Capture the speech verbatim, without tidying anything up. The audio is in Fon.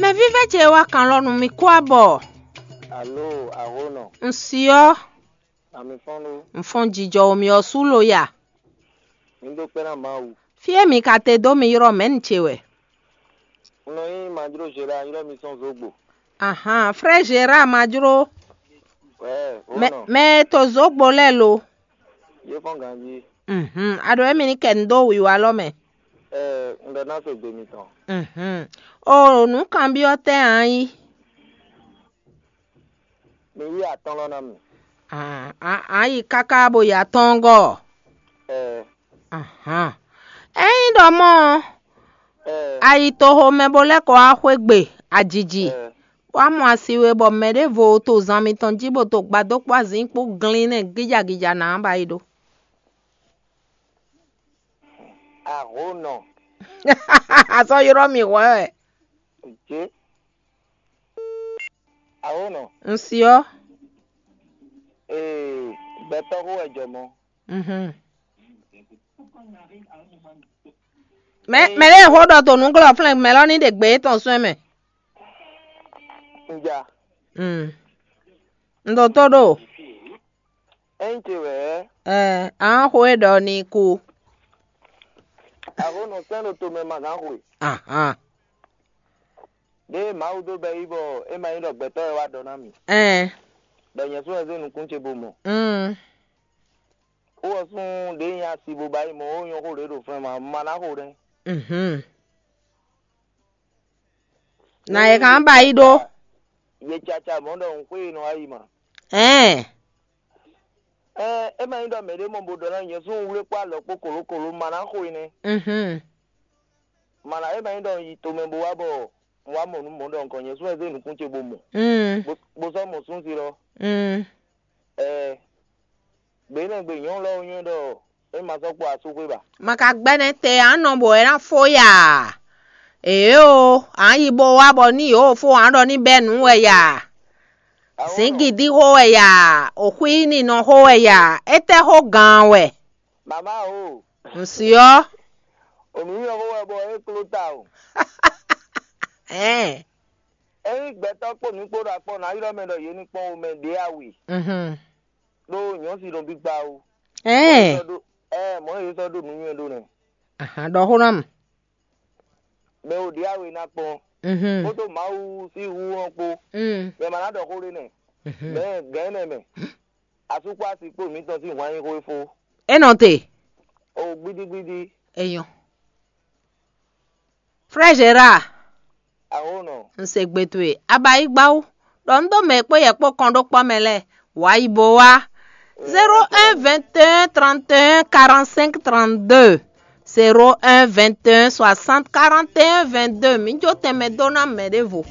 Mɛ vívɛ́ ce wá kan lɔ nú mì kó abɔ. Alo, Ahlɔ̌nɔ, un si ɔ́, ami fɔ́n ɖó. Un fɔ́n jijɔ o mì ɔ́ sú lo ya. Mi ɖó kpɛ́ ná Mawu. Fí e mì ka te dó mi ylɔ́ mɛ̌ ce wɛ? Un nɔ nyí Majló Gérard, ylɔ́ mi sɔ́n Zogbo. Ahan, frère Gérard Majló. Wɛ, Mɛ, Ahlɔ̌nɔ, mɛ e to Zogbo lɛ́ɛ lo. Yé fɔ́n ganjí. Mhm, a ɖo émí ní kɛ nu dó wiwa lɔ mɛ. Ɛɛ, un ɖɔ ná se gbe mitɔn. Mhm. O nǔ kanbyɔ́ tɛ́ ǎ nyí? Mi yí atɔ́n lɔ ná mi. A, a, a yi káká bo yi atɔ́ɔ́ngɔ́. Ɛɛ. Ahan. Ényí ɖɔ mɔ́ ɔ́, ɛɛ. A yi toxo mɛ bó lɛ́ kɔ wá xwé gbe ajiji. Ɛɛ. Wá mɔ asi we bɔ mɛ ɖěvo to zan mitɔn jí bó to gbadó kpó azǐn kpó glín nɛ́ gíjagíja ná ba yi ɖó. Ahlɔ̌nɔ. A sɔ́ ylɔ́ mì hwɛ̌ wɛ. Jé. Ahlɔ̌nɔ. Un si ɔ́. Ee, gbɛtɔ́ xó wɛ jɔ mɔ. Mhm. Mɛ mɛ ɖé xó ɖɔ to nǔglɔ́ flɛ́n mɛ lɔ ní ɖe gbě tɔn sɔ́ mɛ. Un ja. Mm. Un ɖo tó ɖo. Ényí ce wɛ. Ɛ, a xó e ɖɔ ní kú. Ahlɔ̌nɔ sɛ́n ɖo tomɛ ma gán xwe. Ahan. Ɖěe Mawu dó bɛ́ yí bɔ é ma nyí ɖɔ gbɛtɔ́ wɛ wá ɖɔ ná mì. Ɛn. Ɖɔ nyɛ sún wɛ zé nukún ce bo mɔ. Mm. Xó ɔ́ sún ɖě nyí asi bo ba yi mɔ ó nyɔ́ xó ɖě ɖo flɛ́n ma, ma ná xo nɛ́. Mhm. Na yɛ kan ba yi ɖó. Yě caca mɔ̌ ɖɔ nǔxwé e nɔ wá yi ma. Ɛn. Ɛɛ, é ma nyí ɖɔ mɛɖé mɔ bo ɖɔ ná nyɛ sún wlé kpó alɔ kpó kòlókòló ma ná xo é nɛ́. Mhm. Ma ná é ma nyí ɖɔ un yi tomɛ bo wá bɔ un wá mɔ nǔ mɔ̌ ɖɔ nukɔn nyɛ sún wɛ zé nukún ce bo mɔ. Mm. Bo sɔ́ mɔ súnsi lɔ. Mm. Ɛɛ, gbe énɛ́ gbe nyɔ̌nu lɔ nywɛ́ ɖɔ é ma sɔ́ kpɔ asúxwé ba. Ma ka gbɛ́ nɛ́ te ǎ nɔ bɔ é ná fó ya. Ěo, ǎ yi bo wá bɔ ní yǒ fó ǎ ɖɔ ní bɛ́ nǔ wɛ ya. Zǐngídí xó wɛ ya, òxwíínínɔ xó wɛ ya, étɛ́ xó gǎn wɛ? Mama o. Un si ɔ́. Onǔ nyɔ́ xó wɛ bɔ é kló ta o. Ɛn. Ényí gbɛtɔ́ kpó mǐ kpó ɖo akpɔ ná ylɔ́ mɛ ɖɔ yě ní kpɔ́n wo mɛ ɖě a we. Mhm. Ɖó nyɔ̌si nɔ bí gbá o. Ɛn. Sɔ́ ɖó ɛ mɔ̌ yě sɔ́ ɖó nǔ nywɛ́ ɖó nɛ́. Ahan, ɖɔ xó ná mì. Mɛ wo ɖě a we ná kpɔ́n. Mhm. Kpódó Mawu sín hu ɔ́ kpó. Mm. Mɛ ma ná ɖɔ xó ɖé nɛ́. Mhm. Mɛ gɛ̌n nɛ mɛ. Asúkpó asi kpó mǐtɔn sín hwan nyí xó e fó. É nɔ te. O gbídígbídí. Èèyàn. Frère Gérard. Aho nɔ. Un se gbe towe. A ba yi gbá wú. Ɖɔ un ɖó mɛ e kpó yɛ kpó kɔn ɖó kpɔ́ mɛ lɛ́ɛ. Wǎ yi bo wá. Zéro un vingt et un trente et un quarante-cinq trente-deux. Zéro un vingt et un soixante quarante et un vingt-deux. Mǐ jó tɛnmɛ dó ná mɛ ɖěvo.